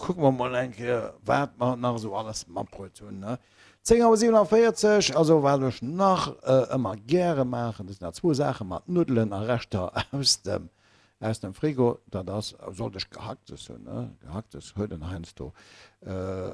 kucke mer mol eng Kéier, wat mer nach esou alles matbruet hunn, ne? 10 Auer 47, also wat ech nach ëmmer gäre maachen, dat sinn nach zwou Saache mat Nuddelen a Reschter aus dem, aus dem Frigo, dat ass, sollt ech Gehacktes hunn, ne, Gehacktes huet en heiansdo,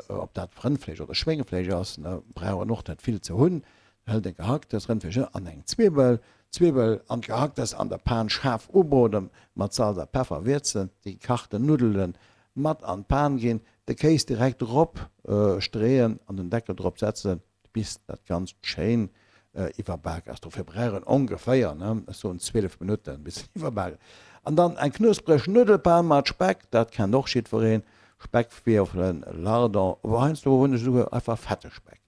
ob dat Rëndfleesch oder Schwéngefleesch ass, ne, brauch en och net vill ze hunn, hëlt e Gehacktes, Rëndfleesch an eng Zwibbel, d'Zwibbel an d'Gehacktes an der Pan schaarf ubroden, mat Salz a Peffer wierzen, déi gekachten Nuddelen mat an d'Pan ginn, de Kéis direkt drop streeën an den Deckel drop setzen, bis dat Ganzt schéin iwwerbak ass. Dofir brauch en ongeféier, ech soen 12 Minutten, bis en iwwerbak ass. An dann eng knuspreg Nuddelpan mat Speck, dat kennt och jiddwereen, Speckwierfelen, Lardon, ower heiansdo hunn ech esouguer einfach fette Speck.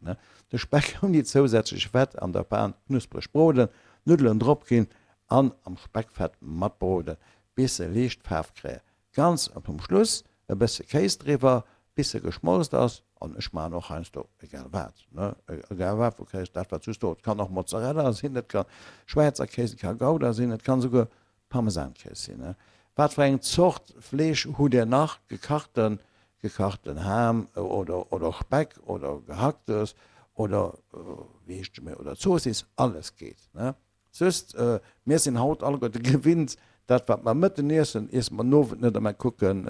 De Speck ouni zousätzlech Fett an der Pan knuspreg broden, d'Nuddelen drop ginn an am Speckfett matbroden, bis se liicht Faarf kréien. Ganz zum Schluss e bësse Kéis driwwer, bis se geschmolzt ass. An ech maachen och heiansdo egal wat, ne, egal wat vu Kéis, dat wat just do, et kann och Mozzarella sinn, et ka Schwäizer Kéis, et ka Gouda sinn, et kann esouguer Parmesankéis sinn, ne. Wat fir eng Zort Fleesch hutt Dir nach? Gekachten, gekachten Ham oder, oder Speck oder Gehacktes oder wéi heescht et méi, oder Zoossiss, alles geet, ne. Just, mir sinn haut alleguerte gewinnt, dat wat mer mëtten iessen, iesse mer den Owend net a mer kucken,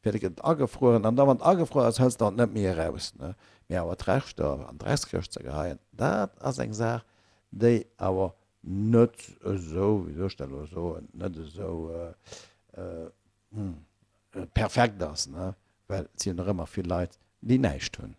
fir et gëtt agefrueren. An da wann et agefruer ass, hëls de et net méi eraus. Mee awer d'Reschter an d'Dreckskëscht ze geheien, dat ass eng Saach, déi awer net esou, wéi soll ech dat elo soen, net esou perfekt ass, well et sinn nach ëmmer vill Leit, déi näischt hunn.